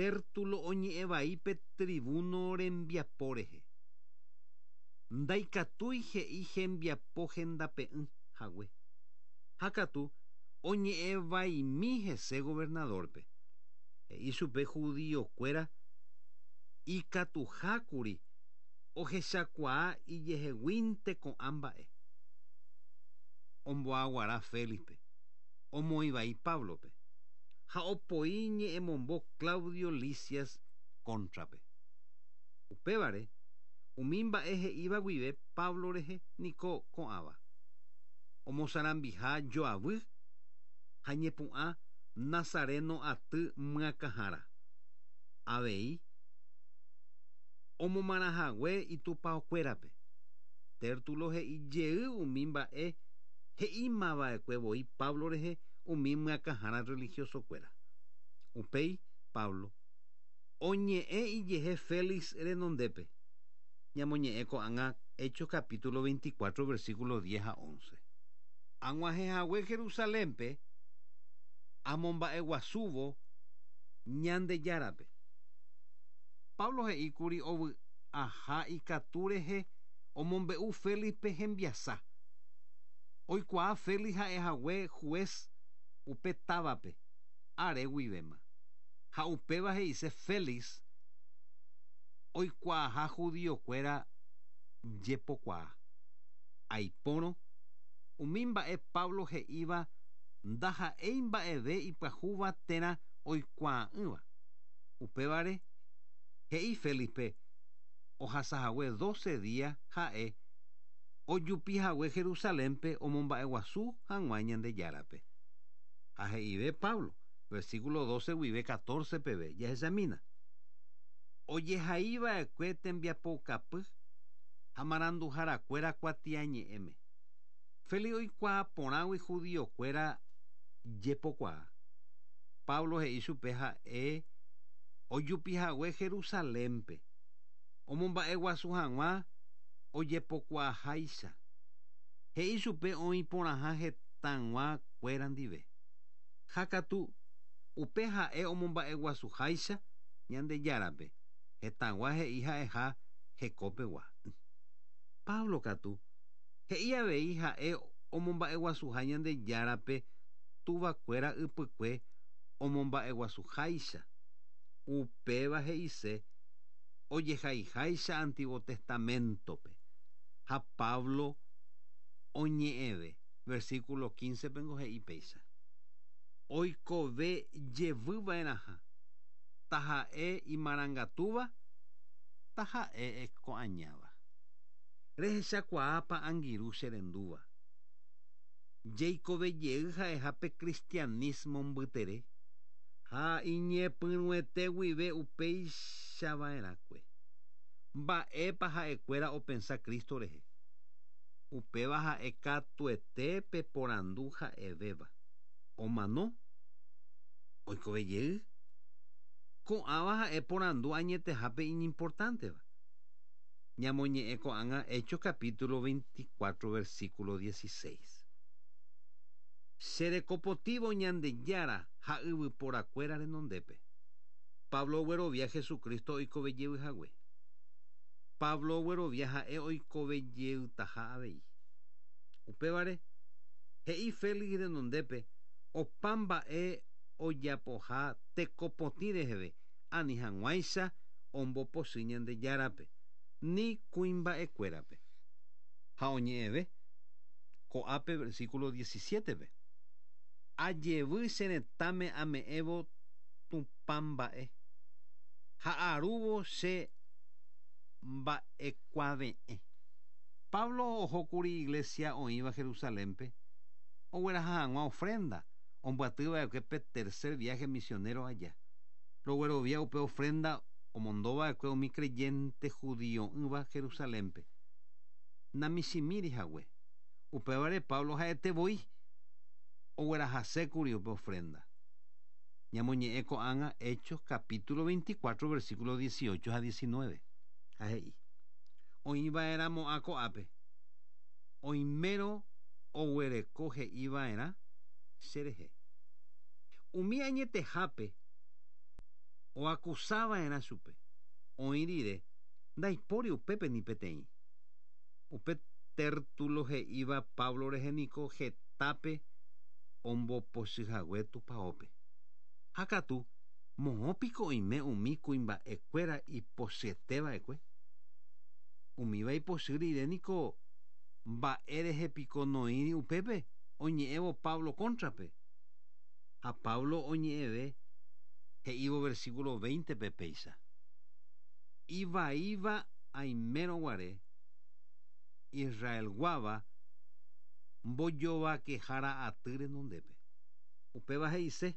Tértulo oñe'ẽ vai pe tribuno rembiapo rehe. Ndaikatúi he'i hembiapo hendape'ỹ hague. Ha katu oñe'ẽ vaimi hese gobernador-pe. He'i chupe judío-kuéra ikatuhákuri ohechakuaa ijeheguínte ko'ã mba'e. Omboaguara Félixpe, omoĩ vai Páblope, ha opoi ñe'ẽmombo Claudio Lisias kóntrape. Upévare, umi mba'e he'íva guive Pablo rehe niko ko'ãva, omosarambiha joavy ha ñepu'ã Nazareno aty myakãhára. Avei, omomarãhague itupaokuérape. Tértulo he'i jey umi mba'e he'imava'ekue voi Pablo rehe umi myakãhára religiosokuéra. Upéi, Pablo oñe'ẽ ijehe Félix renondépe. Ñamoñe'ẽ ko'ág̃a Hechos capítulo 24 versículo 10 ha 11. Ag̃uahẽhague Jerusalénpe amomba'eguasúvo Ñandejárape. Pablo he'íkuri ovy'aha ikatu rehe omombe'u Félixpe hembiasa. Oikuaa Félix ha'ehague juez upe távape are guivéma. Ha upéva he'ise Félix oikuaaha judiokuéra jepokuaa. Aipórõ, umi mba'e Pablo he'íva ndaha'éi mba'eve ipyahúva térã oikuaa'ỹva. Upévare, he'i Félixpe ohasahague doce día ha'e ojupihague Jerusalénpe omomba'eguasu hag̃ua Ñandejárape. Ha he'ive Pablo, versículo 12 guive 14 peve, jahechamína. Ojehaiva'ekue tembiapoukapy ha maranduharakuéra kuatiañe'ẽme. Félix oikuaa porãgui judiokuéra jepokuaa. Pablo he'i chupe ha'e ojupihague Jerusalénpe, omomba'eguasu hag̃ua ojepokuaaháicha. He'i chupe oĩ porãha hetãgua kuéra ndive. Ha katu, upe ha'e omomba'eguasuháicha Ñandejárape, hetãgua he'i ha'eha hekopegua. Pablo katu, he'i avei ha'e omomba'eguasuha Ñandejárape tuvakuéra ypykue omomba'eguasuháicha. Upéva he'ise ojehaiháicha Antiguo Testamento-pe. Ha Pablo oñe'ẽve, versículo 15-pengo he'i péicha, Oikove jevy va'erãha, taha'e imarangatúva, taha'e eko'añáva. Rehechakuaápa angirũ che rendúva? Jeikove jey ha'eha pe cristianismo mbytere, ha iñepyrũete guive upéicha va'erãkue. Mba'épa ha'ekuéra opensa Cristo rehe? Upéva ha'e katuete pe porandu ha'evéva. Omano? Oikove jey? Ko'ãva ha'e porandu añetehápe iñimportánteva. Ñamoñe'ẽ ko'ág̃a Hechos capítulo 24 versículo 16. Che rekopotívo Ñandejára ha yvyporakuéra renondépe. Pablo oguerovia Jesucristo oikove jey hague. Pablo oguerovia ha'e oikove jeytaha avei. Upévare, he'i Félix renondépe opa mba'e ojapoha teko potĩ reheve ani hag̃uáicha ombopochy Ñandejárape, ni kuimba'ekuérape. Ha oñe'ẽve, ko'ápe versículo 17-pe, Ajevy che retãme ame'ẽvo Tupã mba'e, ha arúvo che mba'ekuave'ẽ. Pablo ohókuri iglésia oĩva Jerusalénpe ogueraha hag̃ua ofrénda ombyatyva'ekue pe tercer viáhe misionéro aja. Roguerovia upe ofrénda omondova'ekue umi creyente judio'ỹva Jerusalénpe. Namichĩmíri hague. Upévare Pablo ha'ete voi oguerahasékuri upe ofrénda. Ñamoñe'ẽ ko'ág̃a Hechos capítulo 24 versículo 18 ha 19. Ha he'i, Oĩva'erãmo'ã ko'ápe, oimérõ oguereko he'iva'erã che rehe. Umi añetehápe. Oakusava'erã chupe. Oĩ rire, ndaipóri upépe ni peteĩ. Upe Tértulo he'íva Pablo rehe niko hetápe ombopochyhague tupaópe. Ha katu, moõ piko oime umi kuimba'ekuéra ipochyeteva'ekue? Umíva ipochy rire niko mba'e rehe piko noĩri upépe oñe'ẽvo Pablo kóntrape. Ha Pablo oñe'ẽve he'ívo versículo 20-pe péicha, Ivaíva aimérõ guare, Israelguáva mbojovakehára aty renondépe. Upéva he'ise,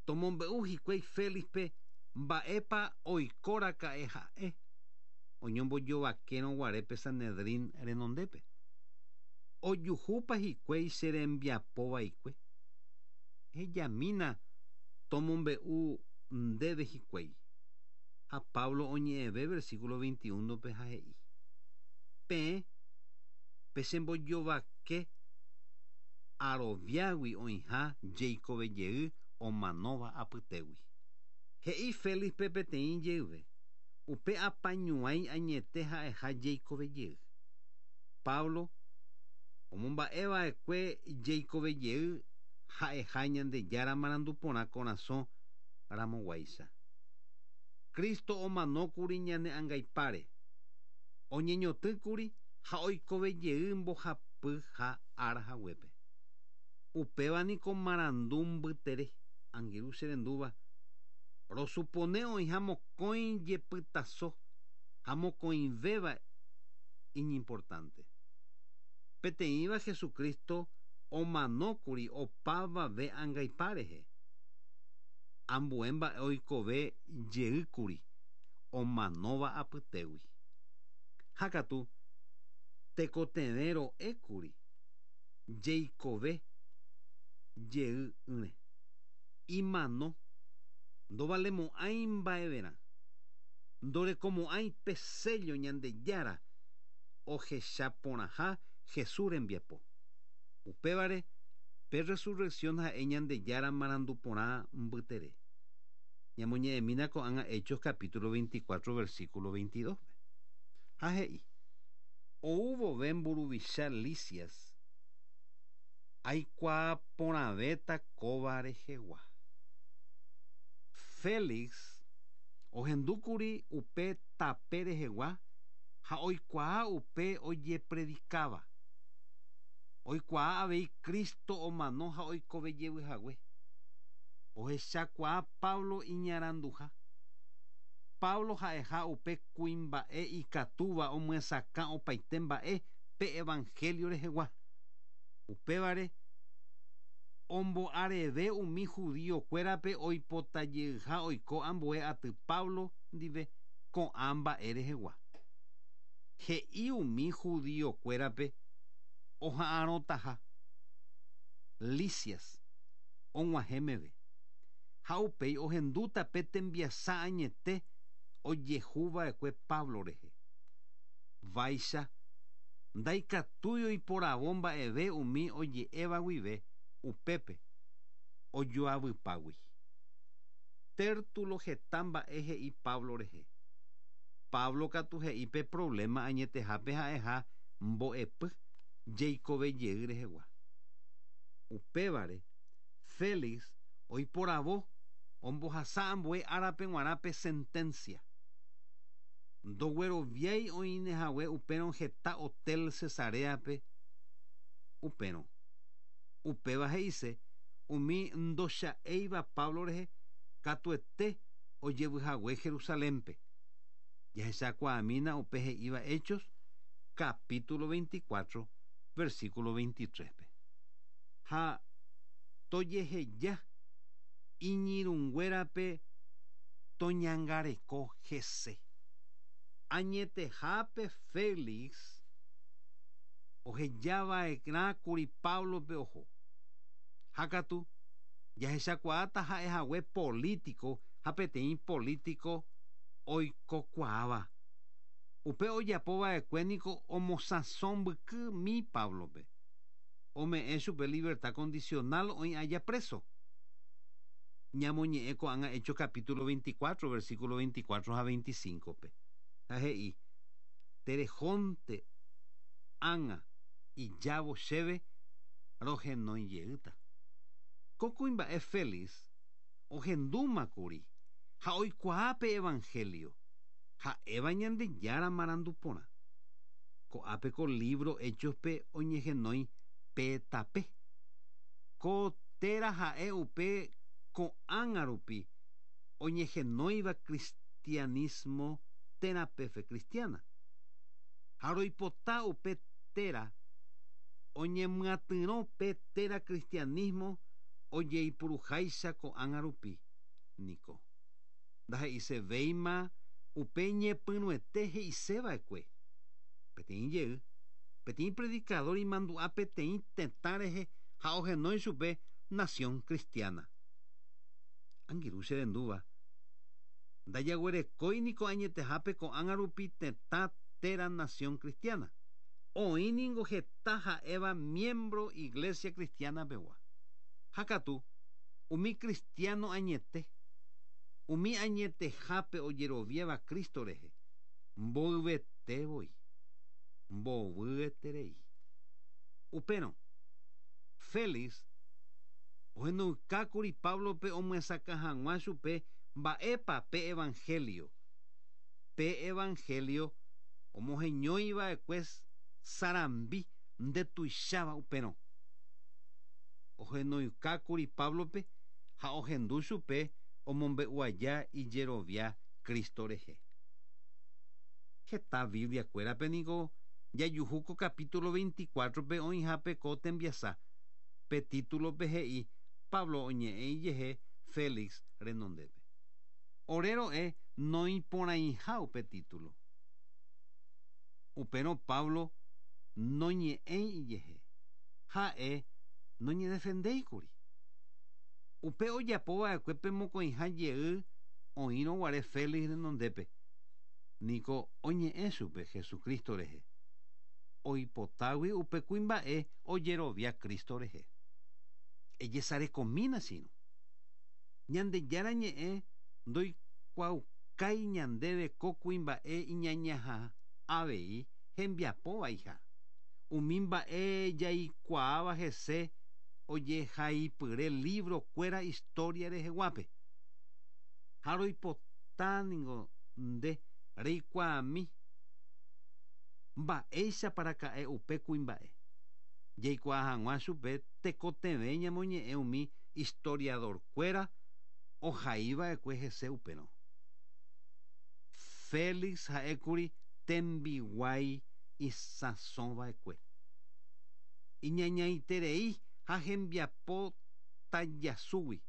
Tomombe'u hikuái Félixpe mba'épa oikoraka'e ha'e oñombojovakérõ guare pe Sanedrín renondépe. Ojuhúpa hikuái che rembiapo vaikue? Ehejamína tomombe'u ndéve hikuái. Ha Pablo oñe'ẽve versículo 21-pe ha he'i, Peẽ pechembojovake aroviágui oĩha jeikove jey omanóva apytégui. He'i Félixpe peteĩ jeyve, Upe apañuãi añete ha'eha jeikove jey. Pablo omomba'e va'ekue jeikove jey ha'eha Ñandejára marandu porã korasõ ramoguáicha. Cristo omanókuri ñane angaipáre, oñeñotỹkuri ha oikove jey mbohapyha ára haguépe. Upéva niko marandu mbytere, angirũ che rendúva, rosupone oĩha mokõi jepytaso ha mokõivéva iñimportánte. Peteĩva Jesucristo omanókuri opavave angaipa rehe. Ambue mba'e oikove jeýkuri omanóva apytégui. Ha katu tekotevẽ ro'ékuri jeikove jey'ỹre. Imano ndovalemo'ãi mba'everã, ndorekomo'ãi pe séllo Ñandejára ohecha porãha Jesús rembiapo. Upévare, pe resurrección ha'e Ñandejára marandu porã mbytere. Ñamoñe'ẽmína ko'ág̃a Hechos capítulo 24 versículo 22-pe. Ha he'i, Ou vove mburuvicha Lisias, aikuaa porãvéta kóva rehegua. Félix ohendúkuri upe tape rehegua ha oikuaa upe ojepredikáva. Oikuaa avei Cristo omano ha oikove jevy hague. Ohechakuaa Pablo iñaranduha. Pablo ha'eha upe kuimba'e ikatúva omyesakã opaite mba'e pe evangelio rehegua. Upévare, ombo'areve umi judío-kuérape oipotajeyha oiko ambue aty Pablo ndive ko'ã mba'e rehegua. He'i umi judío-kuérape oha'arõtaha Lisias og̃uahẽ meve, ha upéi ohendúta pe tembiasa añete ojehuva'ekue Pablo rehe. Vaicha, ndaikatúi oiporavo mba'eve umi oje'éva guive upépe ojoavypágui. Tértulo heta mba'e he'i Pablo rehe. Pablo katu he'i pe provléma añetehápe ha'eha mbo'epy jeikove jey rehegua. Upévare, Félix oiporavo ombohasa ambue árape g̃uarã pe senténsia. Ndogueroviái oĩne hague upérõ heta hotel Cesaréape upérõ. Upéva he'ise umi ndocha'éiva Pablo rehe katuete ojevyhague Jerusalénpe. Jahechakuaamína upe he'íva Hechos capítulo 24, versículo 23-pe. Ha tojeheja iñirũnguérape toñangareko hese. Añetehápe Félix ohejava'erãkuri Páblope oho. Ha katu, jahechakuaáta ha'ehague polítiko ha peteĩ polítiko oikokuaáva. Upe ojapova'ekue niko omosãso mbykymi Páblope. Ome'ẽ chupe libertad condicional oĩ aja preso. Ñamoñe'ẽ ko'ág̃a Hechos capítulo 24, versículo 24 ha 25-pe. Ha he'i, Terehónte ág̃a ijávo chéve rohenói jeýta. Ko kuimba'e Félix ohendúma kuri ha oikuaa pe evangelio, ha'éva Ñandejára marandu porã. Ko'ápe ko lívro Hechos-pe oñehenói pe tape. Ko téra ha'e upe ko'ág̃a rupi oñehenóiva cristianismo térã pe fe cristiana. Ha roipota upe téra oñemyatyrõ pe téra cristianismo ojeipuruháicha ko'ág̃a rupi, niko. Ndahe'isevéima upe ñepyrũete he'iseva'ekue. Peteĩ jey, peteĩ predikadór imandu'a peteĩ tetã rehe ha ohenói chupe Nación Cristiana. Angirũ che rendúva, ndajaguerekói niko añetehápe ko'ág̃a rupi tetã térã Nación Cristiana. Oĩ ningo heta ha'éva miembro Iglesia Cristiana pegua. Ha katu, umi cristiano añete, umi añetehápe ojeroviáva Cristo rehe, mboyvete voi. Mbovyeterei. Upérõ, Félix ohenoykákuri Páblope omyesakã hag̃ua chupe mba'épa pe evanhélio. Pe evanhélio omoheñói va'ekue sarambi ndetuicháva upérõ. Ohenoykákuri Páblope ha ohendu chupe omombe'u aja ijerovia Cristo rehe. Heta Bibliakuérape niko jajuhu ko capítulo 24-pe oĩhápe ko tembiasa. Pe títulope he'i Pablo oñe'ẽ ijehe Félix renondépe. Ore ro'e noĩporãiha upe título. Upérõ Pablo noñe'ẽi ijehe. Ha'e noñedefendéikuri. Upe ojapova'ekue pe mokõiha jey oĩrõguare Félix renondépe, niko oñe'ẽ chupe Jesucristo rehe. Oipotágui upe kuimba'e ojerovia Cristo rehe. Ejesarekomína che irũ. Ñandejára ñe'ẽ ndoikuaukái ñandéve ko kuimba'e iñañaha avei hembiapovaiha. Umi mba'e jaikuaáva hese ojehaipyre libro-kuéra historia reheguápe. Ha roipota ningo nde reikuaami mba'éichapa raka'e upe kuimba'e. Jaikuaa hag̃ua chupe tekotevẽ ñamoñe'ẽ umi historiador-kuéra ohaiva'ekue hese upérõ. Félix ha'ékuri tembiguái isãsova'ekue. Iñañaiterei ha hembiapo tajasúgui.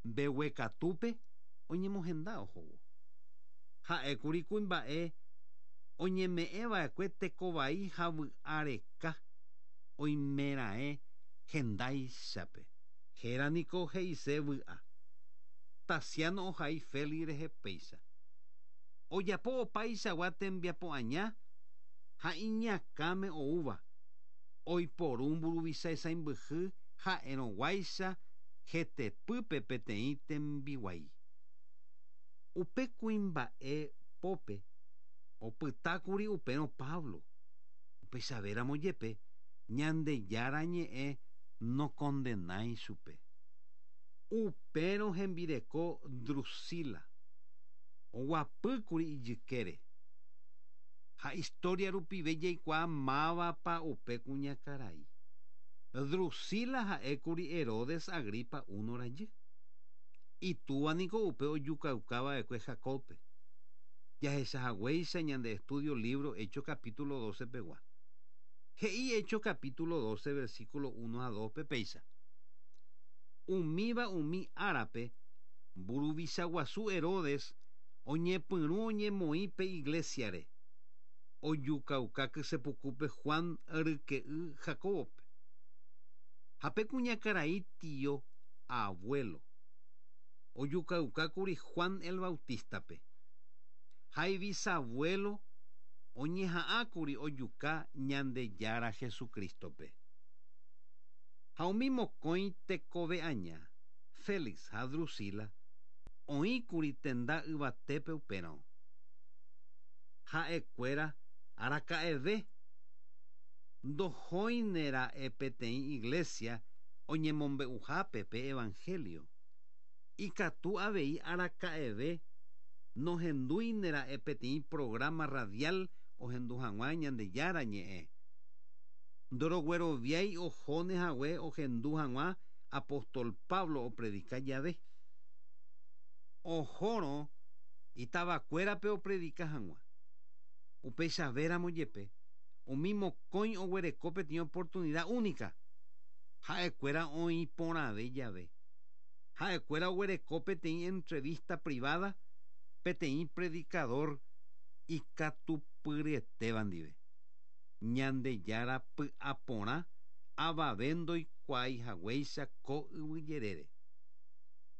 Mbeguekatúpe oñemohenda ohóvo. Ha'ékuri kuimba'e oñeme'ẽva'ekue tekovai ha vy'areka oimeraẽ hendáichape. Héra niko he'ise vy'a. Taciano ohai Félix rehe péicha. Ojapo opaichagua tembiapo aña ha iñakãme oúva, oiporu mburuvicha isãimbyhy ha'erõguáicha hetepýpe peteĩ tembiguái. Upe kuimba'e pópe opytákuri upérõ Pablo, upeichavéramo jepe Ñandejára ñe'ẽ nokondenái chupe. Upérõ hembireko Drusila oguapýkuri ijykére. Ha historia rupive jaikuaa mávapa upe kuñakarai. Drusila ha'ékuri Herodes Agripa I rajy. Itúva niko upe ojukaukava'ekue Jacobpe. Jahechahaguéicha ñande estudio libro Hechos capítulo 12 pegua. He'i Hechos capítulo 12 versículo 1 ha 2 pe péicha. Umíva umi árape mburuvicha guasu Herodes oñepyrũ oñemoĩ pe iglesiare. Ojukauka kysepukúpe Juan ryke'y Jacobope. Ha pe kuñakarai tio abuelo. Ojukaukákuri Juan el Bautistape. Ha ibisabuelo oñeha'ãkuri ojuka Ñandejára Jesucristope. Ha umi mokõi tekove aña, Félix ha Drusila oĩkuri tenda yvatépe upérõ. Ha'ekuéra araka'eve ndohóinera'e peteĩ iglesia oñemombe'uhápe pe evangelio. Ikatu avei araka'eve nohendúinera'e peteĩ programa radial ohendu hag̃ua Ñandejára ñe'ẽ. Ndorogueroviái ohóne hague ohendu hag̃ua apóstol Pablo opredika jave. Ohórõ itavakuérape opredika hag̃ua. Upeichavéramo jepe, umi mokõi oguereko peteĩ oportunidad única, ha'ekuéra oĩ porãve jave. Ha'ekuéra oguereko peteĩ entrevista privada peteĩ predicador ikatupyryetéva ndive. Ñandejára py'aporã avave ndoikuaái haguéicha ko yvyjerére.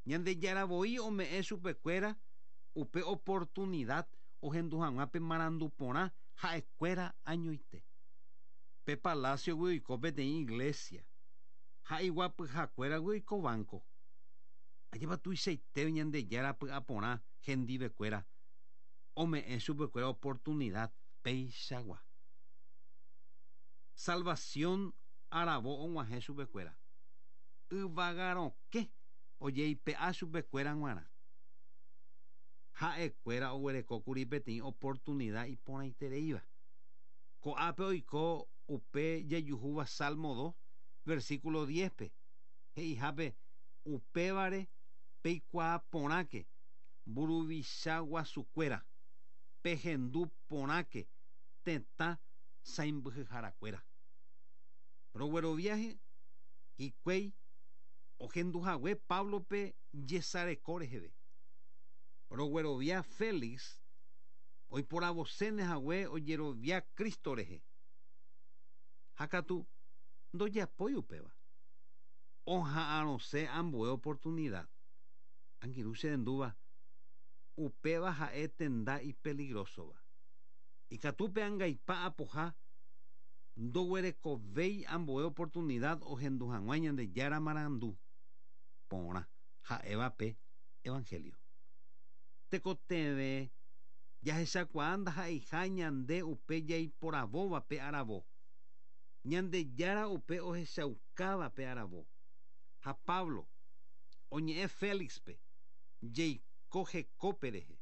Ñandejára voi ome'ẽ chupekuéra upe oportunidad ohendu hag̃ua pe marandu porã ha'ekuéra añoite. Pe palacio-gui oiko peteĩ iglesia ha iguapyhakuéragui oiko banco. Ajépa tuichaite Ñandejára py'aporã hendivekuéra ome'ẽ chupekuéra oportunidad peichagua. Salvación aravo og̃uahẽ chupekuéra. Yvagarokẽ ojeipe'a chupekuéra g̃uarã. Ha'ekuéra oguerekókuri peteĩ oportunidad iporãitereíva. Ko'ápe oiko upe jajuhúva Salmo 2, versículo 10-pe, he'ihápe upévare peikuaa porãke mburuvicha guasukuéra, pehendu porãke tetã sãimbyhyharakuéra. Rogueroviaje hikuái ohenduhague Páblope jesareko reheve. Roguerovia Félix oiporavoséne hague ojerovia Cristo rehe. Ha katu ndojapói upéva. Oha'arõse ambue oportunidad. Angirũ cherendúva, upéva ha'e tenda ipeligrósova. Ikatu pe angaipa apoha ndoguerekovéi ambue oportunidad ohendu hag̃ua Ñandejára marandu porã ha'éva pe evangelio. Tekotevẽ jahechakuaa ndaha'eiha ñande upe jaiporavóva pe aravo. Ñandejára upe ohechaukáva pe aravo. Ha Pablo oñe'ẽ Félixpe jeiko hekópe rehe,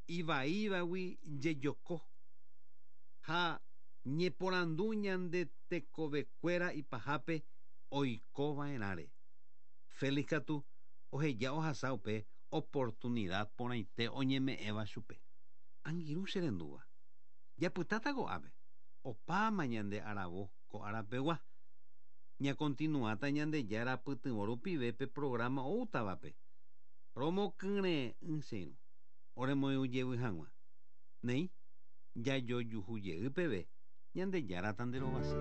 ivaívagui jejoko ha ñeporandu ñande tekovekuéra ipahápe oikova'erãre. Félix katu oheja ohasa upe oportunidad porãite oñeme'ẽva chupe. Angirũ cherendúva, japytáta ko'ápe, opáma ñande aravo ko arapegua. Ñakontinuáta Ñandejára pytyvõ rupive pe programa oútavape. Romokyre'ỹ che irũ, oremoirũ jevy hag̃ua. Néi, jajojuhu jey peve, Ñandejára tanderovasa.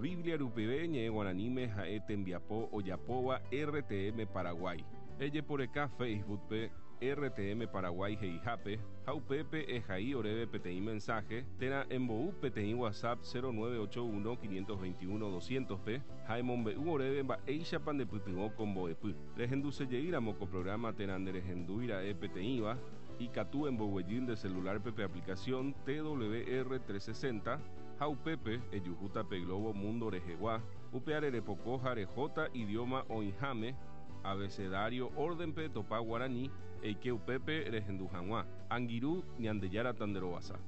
Biblia rupive ñe'ẽ guaraníme ha'e tembiapo ojapóva RTM Paraguay. Ejeporeka Facebook-pe RTM Paraguay he'ihápe ha upépe ehai oréve peteĩ mensaje térã embou peteĩ WhatsApp 0981 521 200-pe ha emombe'u oréve mba'éichapa ndepytyvõ ko mbo'epy. Rehendusejeýramo ko programa térã nderehendúira'e peteĩva, ikatu emboguejy nde celular-pe pe aplicación TWR 360 ha upépe ejuhúta pe globo mundo rehegua, upeare repoko ha rehóta idioma oĩháme, abecedario orden-pe etopa guarani, eike upépe rehendu hag̃ua. Angirũ, Ñandejára tanderovasa.